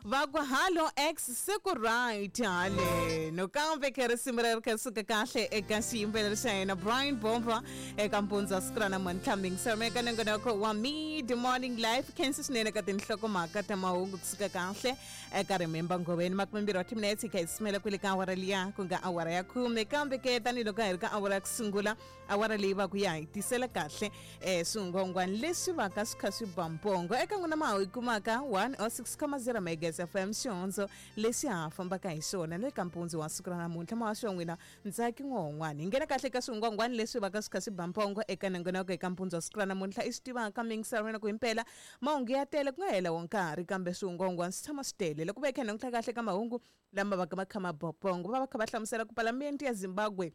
Va ku hallo ex, se ku right haleno. Kambe khe risimu leri kha ri suka kahle eka xiyimbeleri xa hina Brian Bomba eka mpundzu wa siku ra namuntlha. Mingiselo eka nongonoko wa Mid Morning Life, khensi swinene ka tinhlokomhaka ta mahungu kusuka kahle eka Remember Ngoveni. 20 wa timinetse hi kha hi simela kwele ka awara liya ku nga awara ya khume. Kambe ke tanihiloko hi ri ka awara ya ku sungula, awara leyi va ku ya hi tisela kahle swingwangwani leswi va ka swi kha swi ba mpongo eka n'wina ma hi kumaka 106.0 megas FM, xihondzo lexi ha fambaka hi xona na le ka mpundzu wa siku ra namuntlha. Muhaxi wa n'wina Ntsaki N'wahon'wani. Hi nghena kahle ka swingwangwani leswi va ka swi kha swi ba mpongo eka nongonoko eka mpundzu wa siku ra namuntlha. I swi tivaka mingisarwena ku himpela mahungu ya tele ku nga hela wo nkarhi, kambe swingwangwani swi tshama swi tele. Loko va hi kha hi languta kahle ka mahungu lama va ka ma kha ma ba pongo, va va kha va hlamusela ku palamende ya Zimbabwe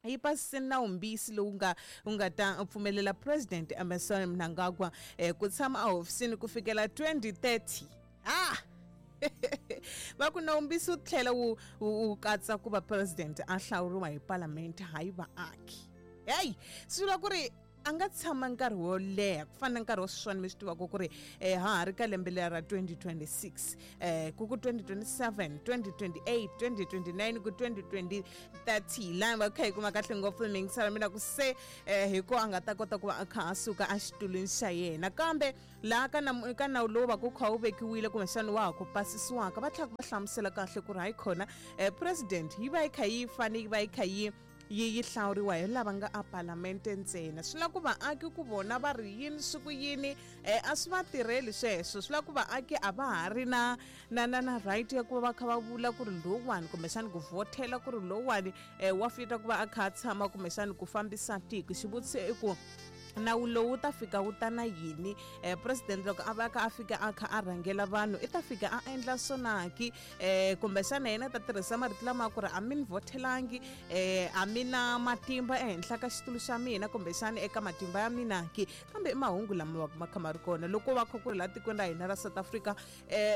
yi pasise nawumbisi lowu nga wu nga ta pfumelela President Emmerson Mnangagwa ku tshama ehofisini ku fikela 2030. Ah! Va ku nawumbisi wu tlhela wu wu katsa ku va president a hlawuriwa hi palamende, hayi vaaki. Heyi, swi vula ku ri a nga tshama nkarhi wo leha ku fana na nkarhi wa sweswiwani. Mi swi tivaka ku ri ha ha ri ka lembe leri ra 2026, ku ku 2027, 2028, 2029 ku 2030, laha va kha hi kuma kahle ngopfu mingisela mina ku se hi ko a nga ta kota ku va a kha a suka exitulwini xa yena. Kambe laha ka ka nawu lowu va ku kha wu vekiwile kumbexana wa ha ku pasisiwaka, va tlhela va hlamusela kahle ku ri hayi khona, president yi va yi kha yi fane yi va yi kha yi yi yi hlawuriwa hi lava nga a palamente ntsena. Swi lava ku vaaki ku vona va ri yini swi ku yini, a swi va tirheli sweswo. Swi lava ku vaaki a va ha ri na na na na right ya ku va va kha va vula ku ri lowuwani, kumbexani ku vhothela ku ri lowuwani wa fita ku va a kha a tshama kumbexani ku fambisa tiko. Xivutiso i ku nawu lowu wu ta fika wu ta na yini? President loko a va kha a fika a kha a rhangela vanhu, i ta fika a endla swonaki, kumbexana yena ta tirhisa marito lama ku ri a mi ni vhothelangi, a mi na matimba ehenhla ka xitulu xa mina kumbexana eka matimba ya mina ki? Kambe i mahungu lama va ma kha ma ri kona loko va kha ku ri laha tikweni ra hina ra South Africa,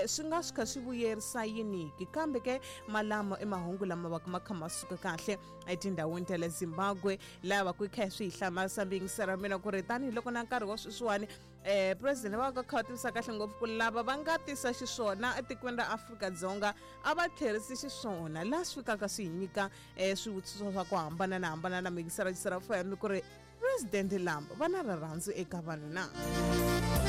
swi nga swi kha swi vuyerisa yiniki? Kambe ke malamo i mahungu lama va ma kha ma suka kahle etindhawini ta le Zimbabwe, laha va ku yi kha swi hi hlamarisa mbingiselo mina ku ri tanihiloko na nkarhi wa sweswiwani, president va ka kha va tivisa kahle ngopfu ku lava va nga tisa xiswona etikweni ra Afrika-Dzonga a va tlherisi xiswona, laha swi fikaka swi hi nyika swivutiso swa ku hambana na hambana na mingiselo xisera fm ku ri president lama va na rirhandzu eka vanhu na.